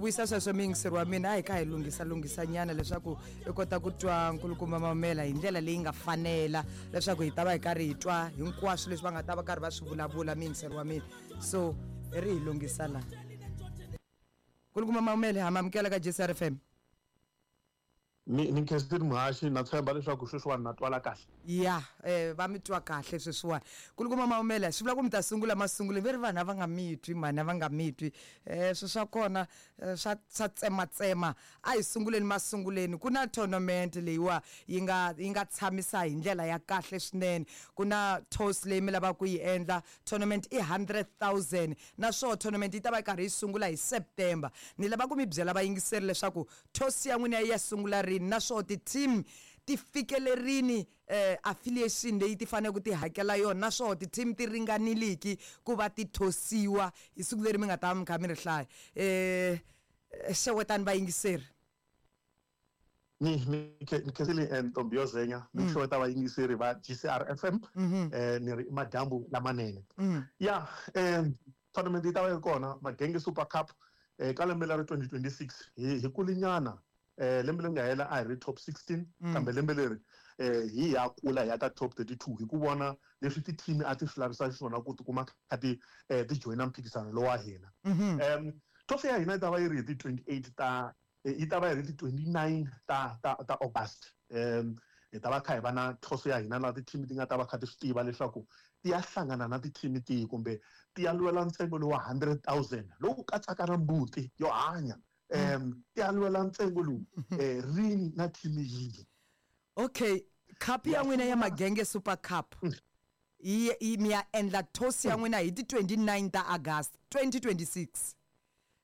Vuyisa sweswo muyingiseri wa mina, a hi kha hi lunghisa lunghisa nyana leswaku i kota ku twa nkulukumba Mamela hi ndlela leyi nga fanela, leswaku hi ta va hi karhi hi twa hinkwaswo leswi va nga ta va karhi va swi vulavula, muyingiseri wa mina. So hi ri hi lunghisa laha. Nkulukumba Mamela, ha mi amukela ka JCR FM. Ni ni nkhensile muhaxi, na tshemba leswaku sweswiwani na twala kahle. Ya, va mi twa kahle sweswiwani. Nkulukumba Maumela, swi vula ku mi ta sungula masungulweni, ve ri vanhu a va nga mi twi mhani, a va nga mi twi. Swi swa kona swa swa tsematsema. A hi sunguleni masunguleni, ku na tournament leyiwa yi nga yi nga tshamisa hi ndlela ya kahle swinene. Ku na toss leyi mi lavaka ku yi endla, tournament i 100,000 naswona tournament yi ta va yi karhi yi sungula hi September. Ni lava ku mi byela vayingiseri leswaku Toss ya n'wina yi ya sungula rini naswona ti-team ti fikele rini affiliation leyi ti faneleke ti hakela yona naswona ti-team ti ringaniliki ku va ti thosiwa hi siku leri mi nga ta va mi kha mi ri hlaya? Xewetani vayingiseri. Ni ni ni khensile ntombi yo zenya ni xeweta vayingiseri va GCR FM ni ri i madyambu lamanene. Ya tournament yi ta va yi ri kona Magenge Super Cup ka lembe leri 2026 hi hi kulinyana lembe leri nga hela a hi ri top 16 kambe lembe leri hi ya kula hi ya ka top 32 hi ku vona leswi ti-team a ti swi lavisa xiswona ku tikuma kha ti ti joyina mphikizano lowa hina. Trophy ya hina yi ta va yi ri hi ti 28 ta yi ta va yi ri ti 29 ta ta ta August. Hi ta va kha hi va na thoso ya hina laha ti-team ti nga ta va kha ti swi tiva leswaku ti ya hlangana na ti-team tihi kumbe ti ya lwela ntsengo lowu wa 100,000 lowu katsaka na mbuti yo hanya. Ti ya lwela ntsengo lowu rini na team yihi. Okay, cup ya n'wina ya Magenge Super Cup yi mi ya endla toss ya n'wina hi ti 29 ta August 2026.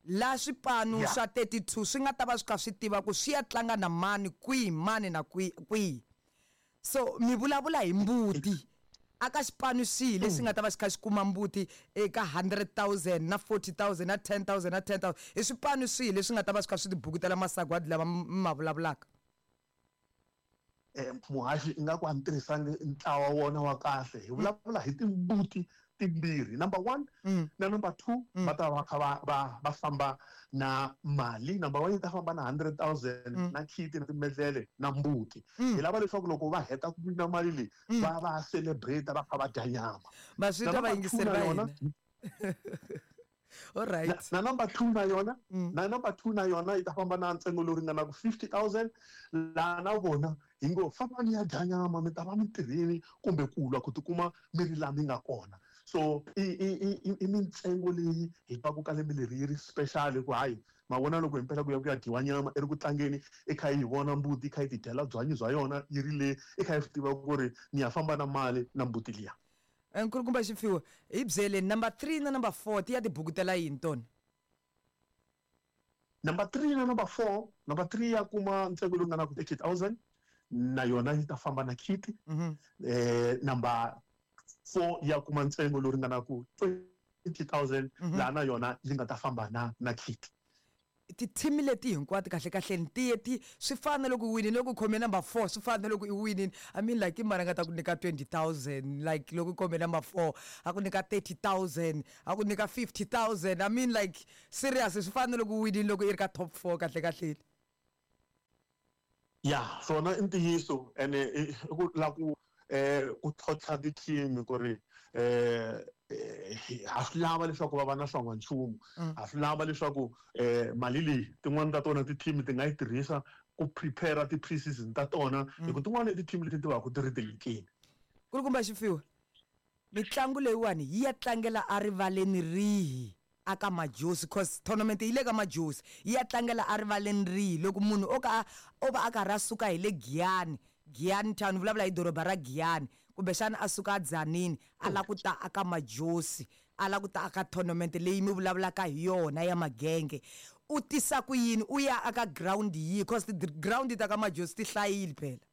Laha swipanu swa 32 swi nga ta va swi kha swi tiva ku swi ya tlanga na mani kwihi, mani na kwihi. So mi vulavula hi mbuti. A ka xipanu xihi lexi nga ta va xi kha xi kuma mbuti eka 100,000 na 40,000 na 10,000 na 10,000? I swipanu swihi leswi nga ta va swi kha swi tibukutela masagwadi lama mi ma vulavulaka? Muhaxi ingaku a ni tirhisangi ntlawa wona wa kahle hi vulavula hi timbuti timbirhi number 1 na number 2 va ta va kha va va va famba na mali number 1 yi ta famba na 100,000 na khiti na timedlele na mbuti hi lava leswaku loko va heta ku wina mali leyi va va celebrate va kha va dya nyama Ma swi na twa number 2 vayingiseri na va yona hina. Alright. Na number 2 na yona na number 2 na yona yi ta famba na ntsengo lowu ringanaka 50,000 laha na vona hi ngo fambani ya dya nyama mi ta va mi tirhini kumbe ku lwa ku tikuma mi ri laha mi nga kona. So i i i i mintsengo leyi hi twaku ka lembe leri yi ri special ku hayi ma vona loko himpela ku ya ku ya dyiwa nyama i ri ku tlangeni i kha yi vona mbuti yi kha yi tidyela byanyi bya yona yi ri le i kha yi swi tiva ku ri ni ya famba na mali na mbuti liya. Nkulukumba Xipfiwo, hi byeleni number 3 na number 4 ti ya tibukutela yini tona? Number 3 na number 4, number 3 ya kuma ntsengo lowu nga na ku 30,000 na yona yi ta famba na khiti. Number 4 ya kuma ntsengo lowu ringanaka 20,000 laha na yona yi nga ta famba na na khiti. Ti-team leti hinkwato kahle kahleni ti ye ti swi fana na loko i winile, loko u khome number 4 swi fana na loko i winile. I mean like i mani a nga ta ku nyika 20,000 like loko u khome number 4 a ku nyika 30,000 a ku nyika 50,000. I mean like serious swi fana na loko u winile loko i ri ka top 4 kahle kahleni. Ya swona i ntiyiso ene i ku lava ku ku tlhontlha ti-team ku ri ha swi lava leswaku va va na swa n'wanchumu ha swi lava leswaku mali leyi tin'wani ta tona ti-team ti nga yi tirhisa ku prepare ti-pre-season ta tona hi ku tin'wani i ti-team leti ti va ku ti ri tinyikeni. Nkulukumba Xipfiwa, mitlangu leyiwani yi ya tlangela erivaleni rihi aka Majozi? Cause tournament yi le ka Majozi, yi ya tlangela erivaleni rihi? Loko munhu o ka o va a karhi a suka hi le Giyani, Giyani town, vulavula hi doroba ra Giyani, kumbexana a suka a Dzanini a lava ku ta aka Majozi, a lava ku ta aka tournament leyi mi vulavulaka hi yona ya Magenge, u tisa ku yini? U ya aka ground yihi? Cause ti-ground ta ka Majozi ti hlayile phela.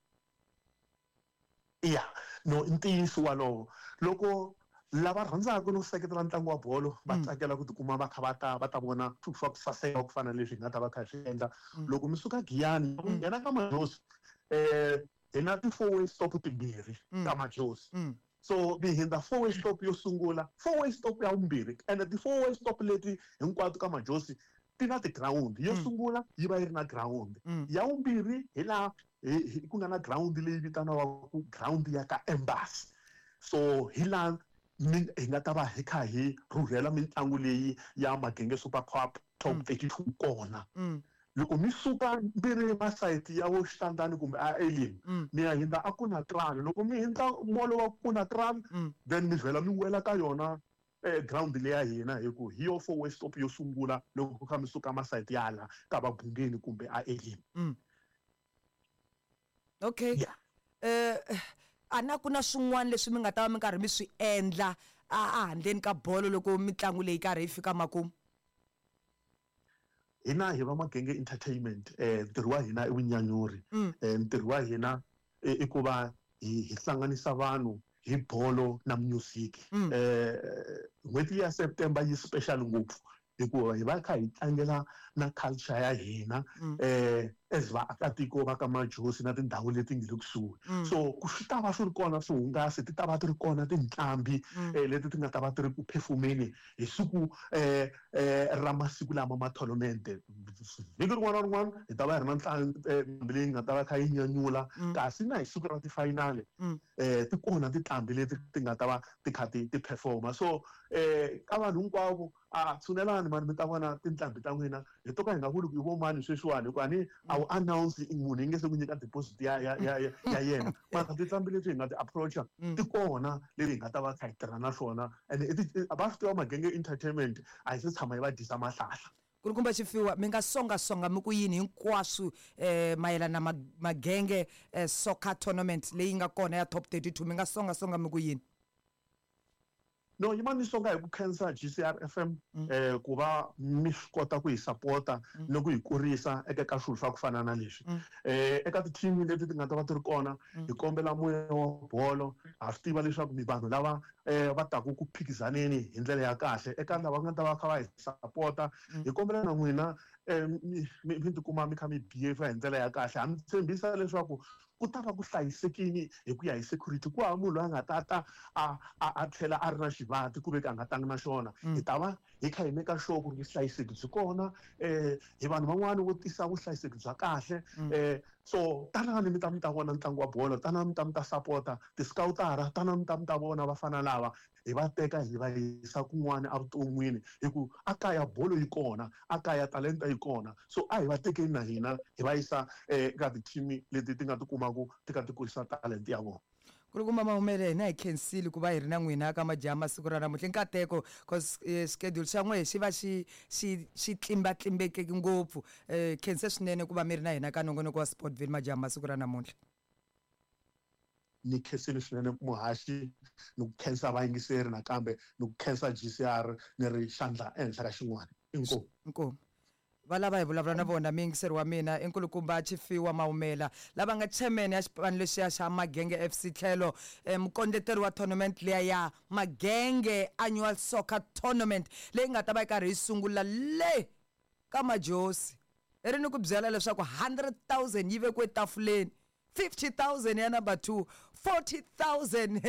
Ya, no i ntiyiso walowo. Loko lava rhandzaka no seketela ntlangu wa bolo va tsakela ku tikuma va kha va ta va ta vona swilo swa ku saseka ku fana na leswi hi nga ta va kha hi swi endla. Loko mi suka Giyani loko mi nghena ka Majozi hi na ti-four way stop timbirhi ka Majozi. So mi hundza four way stop yo sungula, four way stop ya vumbirhi ene ti-four way stop leti hinkwato ka Majozi. Ti na tigirawundi. Yo sungula yi va yi ri na girawundi. Ya vumbirhi hi laha ku nga na girawundi leyi vitaniwaka girawundi ya ka embassy. So hi laha hi nga ta va hi kha hi rhurhela mitlangu leyi ya Magenge Super Cup Top 32 kona. Loko mi suka mi ri masayiti ya vo Xitandani kumbe a Elim, mi ya hindza a Kunatral. Loko mi hindza molo wa Kunatral, then mi vhela mi wela ka yona ground leya hina, hi ku hi yo four way stop yo sungula loko ku kha mi suka masayiti ya la ka Vabungeni kumbe a Elim. Okay. Yeah. A na ku na swin'wana leswi mi nga ta va mi karhi mi swi endla a handleni ka bolo loko mitlangu leyi karhi yi fika makumu? Hina hi va Magenge Entertainment, ntirho wa hina i vunyanyuri. Ntirho wa hina i ku va hi hlanganisa vanhu hi bolo na music. N'hweti ya September yi special ngopfu hikuva hi va kha hi tlangela na culture ya hina as vaakatiko va ka Majosi na tindhawu leti nga le kusuhi. So ku swi ta va swi ri kona swihungasi, ti ta va ti ri kona tinqambi leti ti nga ta va ti ri ku phefumeni hi siku ra masiku lama ma tournament. Vhiki rin'wana na rin'wana hi ta va hi ri na nqambi leyi nga ta va kha yi nyanyula, kasi na hi siku ra ti-final ti kona tinqambi leti ti nga ta va ti kha ti performa. So ka vanhu hinkwavo, a tshunelani mani mi ta vona tinqambi ta n'wina. Hi to ka hi nga vuli ku i vo mani sweswiwani, hikuva ni a wu announce munhu yi nge se ku nyika deposit ya yena. Mara tinqambi leti hi nga ti approacha ti kona leti hi nga ta va kha hi tirha na swona, and va swi tiva Magenge Entertainment a hi se tshama yi va dyisa mahlahla. Kulukumba Tshifhiwa, mi nga songasonga mi ku yini hinkwaswo mayelana na Magenge Soccer Tournament leyi nga kona ya Top 32? Mi nga songasonga mi ku yini? No, yima ni songa hi ku khensa GCR FM ku va mi swi kota ku hi sapota ni ku hi kurisa eka ka swilo swa ku fana na leswi. Eka ti-team leti ti nga ta va ti ri kona, hi kombela moya wa bolo. Ha swi tiva leswaku mi vanhu lava va taku ku phikizaneni hi ndlela ya kahle. Eka lava nga ta va kha va hi sapota, hi kombela na n'wina mi tikuma mi kha mi behave hi ndlela ya kahle. Ha mi tshembisa leswaku ku ta va ku hlayisekini hi ku ya hi security. Ku hava munhu loyi a nga ta ta a tlhela a ri na xivati ku ve ka a nga tangi na xona. Hi ta va hi kha hi make sure ku ri vuhlayiseki byi kona. Hi vanhu van'wani vo tisa vuhlayiseki bya kahle. So tanani mi ta mi ta vona ntlangu wa bolo, tanani mi ta mi ta sapota ti-scoutara, tanani mi ta mi ta vona vafana lava hi va teka hi va yisa kun'wana evuton'wini, hi ku a kaya bolo yi kona, a kaya talenta yi kona. So a hi va tekeni na hina hi va yisa eka ti-team leti ti nga ti kumaku ti kha ti kurisa talent ya vona. Kulukumba Mahumele, hina hi khensile ku va hi ri na n'wina ka majaha masiku ra namuntlha. Nkateko, cause schedule xa n'wehe xi va xi tlimbatlimbekeke ngopfu. Khense swinene ku va mi ri na hina ka nongonoko wa Sportville majaha masiku ra namuntlha. Ni khensile swinene muhaxi, ni ku khensa vayingiseri nakambe ni ku khensa GCR, ni ri xandla ehenhla ka xin'wana. Inkomu. Inkomu. Va lava hi vulavula na vona muyingiseri wa mina i nkulukumba Tshifhiwa Maumela, lava nga chairman ya xipano lexiya xa Magenge FC tlhelo mukondleteri wa tournament liya ya Magenge Annual Soccer Tournament leyi nga ta va yi karhi yi sungula le ka Majosi. I ri ni ku byela leswaku 100,000 yi vekiwe tafuleni, 50,000 ya number 2, 40,000.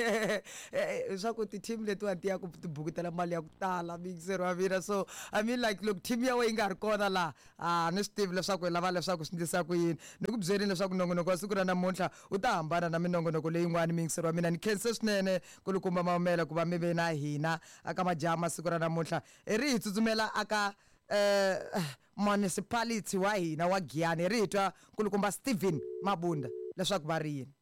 Leswaku ti-team letiwani ti ya ku ti bukutela mali ya ku tala muyingiseri wa mina. So I mean like loko team ya wena yi nga ri kona laha, a ni swi tivi leswaku hi lava leswaku swi endlisa ku yini. Ni ku byelini leswaku nongonoko wa siku ra namuntlha wu ta hambana na minongonoko leyin'wani muyingiseri wa mina. Ni khense swinene Nkulukumba Maumela ku va mi ve na hina aka majaha masiku ra namuntlha. Hi ri hi tsutsumela aka municipality wa hina wa Giyani, hi ri hi twa Nkulukumba Steven Mabunda leswaku va ri yini.